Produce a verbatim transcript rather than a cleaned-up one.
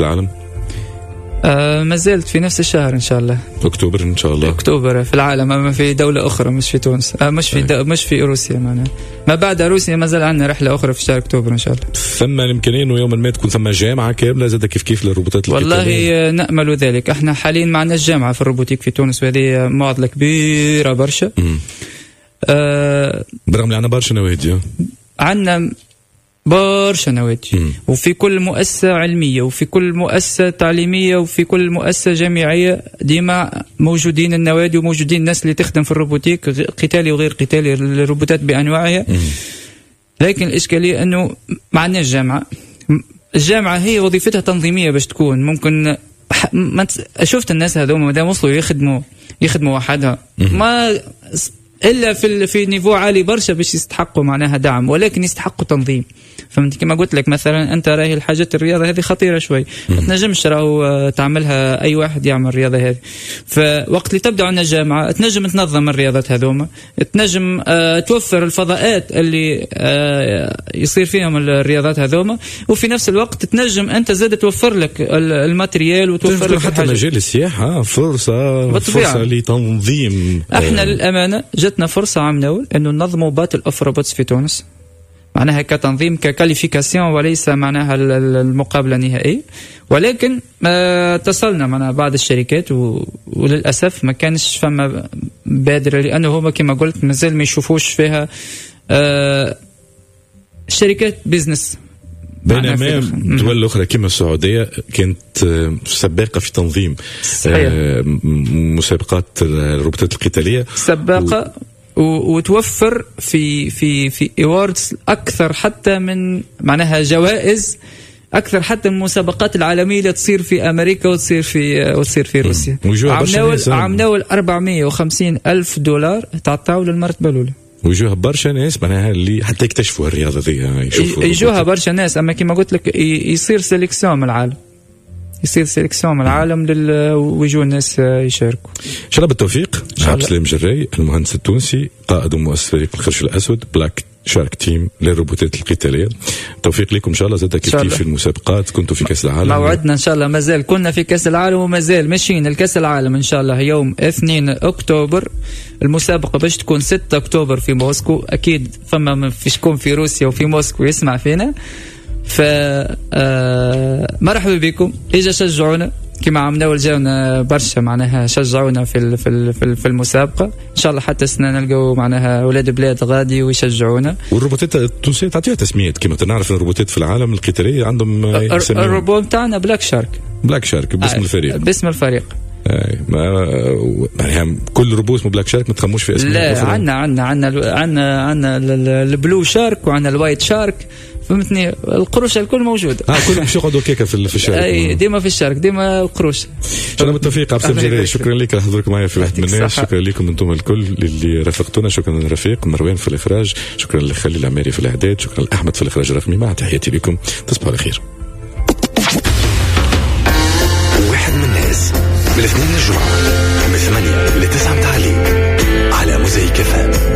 العالم؟ آه ما زلت في نفس الشهر ان شاء الله. اكتوبر ان شاء الله. اكتوبر في العالم، اما في دولة اخرى مش في تونس، آه مش في دو مش في روسيا معناها. ما بعد روسيا ما زال عندنا رحله اخرى في شهر اكتوبر ان شاء الله. ثم الامكانية انه يوما ما تكون ثم جامعه كاملة زاد كيف كيف للروبوتات القتالية؟ والله نامل ذلك، احنا حاليا ما عندناش جامعه في ال robotique في تونس، وهذه معضلة كبيرة برشا. آه برغم اللي عندنا برشا نوادي، عندنا برشا نوادي وفي كل مؤسسة علمية وفي كل مؤسسة تعليمية وفي كل مؤسسة جامعية ديما موجودين النوادي وموجودين الناس اللي تخدم في ال robotique، قتالي وغير قتالي، الروبوتات بأنواعها. لكن الإشكالية أنه ما عندناش جامعة. الجامعة هي وظيفتها تنظيمية باش تكون ممكن ما شفت الناس هذوما ما دام وصلوا يخدموا يخدموا وحدها ما الا في في niveau عالي برشا باش يستحقوا معناها دعم، ولكن يستحقوا تنظيم. فهمت كما قلت لك مثلا انت راهي الحاجات الرياضة هذه خطيرة شوي، ما تنجمش راهو تعملها اي واحد يعمل الرياضة هذه. فوقت اللي تبدا عندنا جامعه تنجم تنظم الرياضات هذوما، تنجم آه توفر الفضاءات اللي آه يصير فيهم الرياضات هذوما، وفي نفس الوقت تنجم انت زاد توفر لك ال matériel وتوفر لك حتى مجال السياحة فرصة بالطبيعة. فرصة لتنظيم. احنا للامانة جتنا فرصة عام ناول انه ننظموا battle of robots في تونس، معناها كتنظيم ك qualification وليس معناها المقابلة النهائية، ولكن اتصلنا مع بعض الشركات و... وللاسف ما كانش فما بادره، لانه هما كما قلت مازال ما يشوفوش فيها آه الشركات business. بينما دول اخرى كما السعودية كانت سباقه في تنظيم صحيح. مسابقات الروبوتات القتالية، سباقه و... وتوفر في في في awards اكثر حتى من معناها جوائز اكثر حتى من المسابقات العالمية اللي تصير في امريكا وتصير في وتصير في روسيا. عام ناول أربعمية وخمسين الف دولار تعطاو للمرتبه الاولى. ويجوها برشا ناس معناها اللي حتى يكتشفوا الرياضة ذي، يشوفوا يجوها برشا ناس، اما كما قلت لك يصير sélection من العالم، يصير sélection من العالم لل... ويجوا الناس يشاركوا. ان شاء الله بالتوفيق. عبد السلام جراي المهندس التونسي قائد ومؤسس فريق القرش الاسود Black Shark Team للروبوتات القتالية. التوفيق لكم ان شاء الله زاد كيف كيف في المسابقات، كنتوا في كاس العالم، موعدنا ان شاء الله مازال كنا في كاس العالم ومازال ماشيين الكاس العالم ان شاء الله يوم اثنين اكتوبر. المسابقة باش تكون ستة اكتوبر في موسكو، اكيد فما في شكون في روسيا وفي موسكو يسمع فينا، ف مرحبا بكم، اجا شجعونا كما عملنا جاونا برشا معناها شجعونا في في في المسابقة. ان شاء الله حتى السنة نلقاو معناها اولاد بلاد غادي ويشجعونا. والروبوتات التونسية تعطيها تسميات كما نعرف الروبوتات في العالم القتالية عندهم الروبوت نتاعنا Black Shark. Black Shark باسم الفريق. باسم الفريق. اي ما يعني كل روبوت اسمه Black Shark ما تخموش في اسمه. لا عندنا عندنا عندنا عندنا عندنا ال blue shark وعندنا ال white shark، فهمتني، القروش الكل موجود. اه كل باش يقعدوا كيكة في في ال shark. اي ديما في ال shark ديما القروش. ان شاء الله بالتوفيق عبد السلام جراي، شكرا لك على حضورك معي في واحد من الناس، شكرا لكم انتم الكل اللي رافقتونا، شكرا لرفيق مروان في الاخراج، شكرا لخليل العماري في الاعداد، شكرا لاحمد في الاخراج الرقمي. مع تحياتي لكم، تصبحوا على خير. واحد من الناس من الاثنين للجمعة من ثمانية لتسعة متاع الليل على موزايك إف إم.